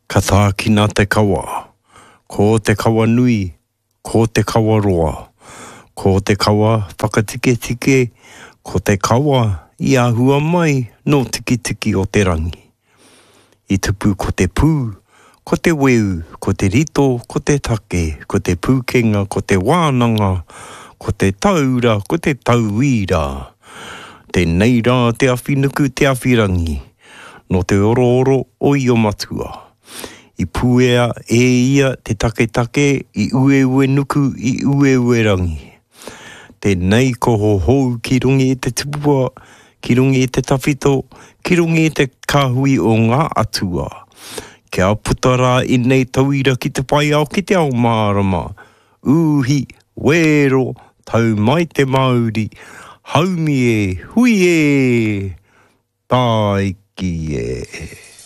Ka tākina te kawa, ko te kawa nui, ko te kawa roa, ko te kawa whakatiketike, ko te kawa i ahua mai nō Tikitiki o te Rangi. I tupu ko te pū, ko te weu, ko te rito, ko te take, ko te pūkenga, ko te wānanga, ko te taura, ko te tauira. Tēnei rā te awhinuku, te awhirangi, nō te orooro o Iomatua. I puea e ia te taketake i Ueuenuku, i Ueuerangi. Tēnei ko hohou ki runga i te tupua, ki runga i te tawhito, ki runga i te kāhui o ngā atua. Kia puta rā ēnei tauira ki te whai ao ki te ao mārama, ūhi, wēro, tau mai te mauri, haumi e, hui e, tāiki e.